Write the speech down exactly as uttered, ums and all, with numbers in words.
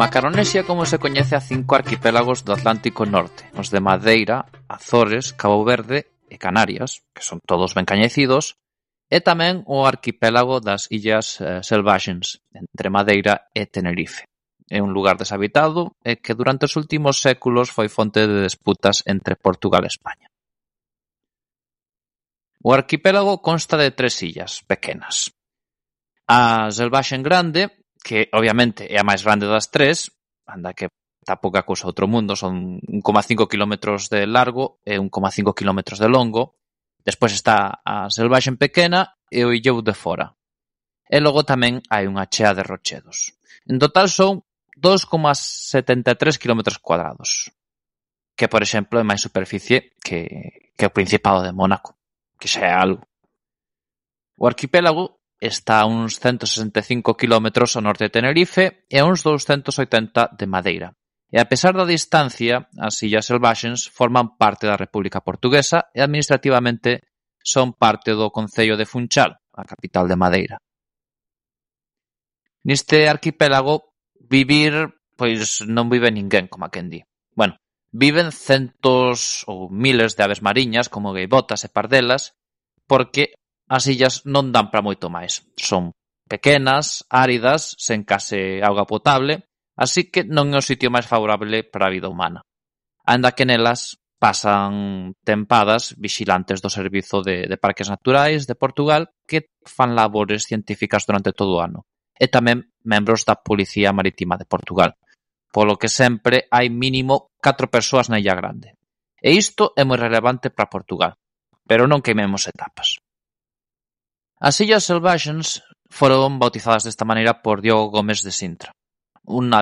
Macaronesia como se coñece a cinco arquipélagos do Atlántico Norte, os de Madeira, Azores, Cabo Verde e Canarias, que son todos ben coñecidos, e tamén o arquipélago das Illas eh, Selvaxens, entre Madeira e Tenerife. É un lugar deshabitado e que durante os últimos séculos foi fonte de disputas entre Portugal e España. O arquipélago consta de tres illas pequenas. A Selvaxen Grande, que obviamente é a máis grande das tres, anda que está pouca cousa outro mundo, son un coma cinco kilómetros de largo e un coma cinco kilómetros de longo. Despois está a Selvaxen Pequena e o Illou de Fora. E logo tamén hai unha chea de rochedos. En total son dos coma setenta e tres kilómetros cuadrados, que, por exemplo, é máis superficie que, que o Principado de Mónaco, que xa é algo. O arquipélago está a uns ciento sesenta e cinco kilómetros ao norte de Tenerife e a uns douscentos oitenta de Madeira. E a pesar da distancia, as Illas Selvaxens forman parte da República Portuguesa e administrativamente son parte do concello de Funchal, a capital de Madeira. Neste arquipélago, vivir, pois non vive ninguén, como a quen di. Bueno, viven centos ou miles de aves mariñas, como gaivotas e pardelas, porque as illas non dan para moito máis. Son pequenas, áridas, sen case auga potable, así que non é o sitio máis favorable para a vida humana. Anda que nelas pasan tempadas vixilantes do Servizo de, de Parques Naturais de Portugal que fan labores científicas durante todo o ano. E tamén membros da Policía Marítima de Portugal. Polo que sempre hai mínimo catro persoas na Illa Grande. E isto é moi relevante para Portugal. Pero non queimemos etapas. As Illas Selvaxens foron bautizadas desta maneira por Diogo Gómez de Sintra, unha